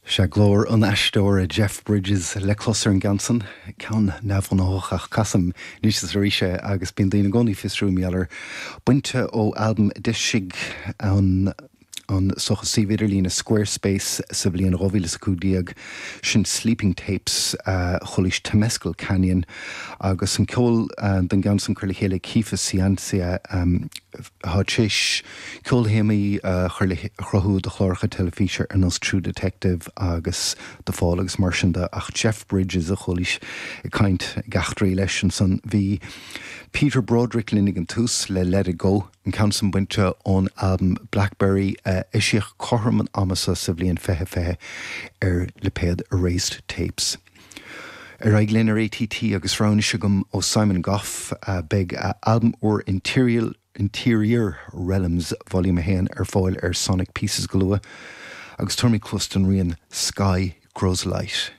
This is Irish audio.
Sea, glór an aisteora Jeff Bridges le clos ar an gceann san, ceann neamhghnách ach casaim anois is arís é agus bíonn daoine i gcónaí ag fiosrú mar gheall air. Bainte ó albam a d'eisigh an an suíomh idirlíne Squarespace sa bhliain 2015, sin Sleeping Tapes, chualaís Temescal Canyon agus an ceol don gceann san curtha le chéile ag Keefus Ciancia atá tar éis ceolthéamaí a chur le a chruthú do chláracha teilifíse ar nós True Detective agus The Fall agus mar sin de ach Jeff Bridges a chualaís ag caint ag eachtraí leis ansan. Bhí Peter Broderick linn ag an tús le Let It Go. an ceann san bainte ón albam Blackberry a eisíodh cothrom an ama seo sa bhliain 2020 ar lipéad Erased Tapes. Ar aghaidh linn ar ATT agus rogha anois agam ó Simon Gough, beidh a albam úr Interior Interior Realms Volume 1 ar fáil ar Sonic Pieces go luath agus tabharfaimid cluas don rian Sky Grows Light.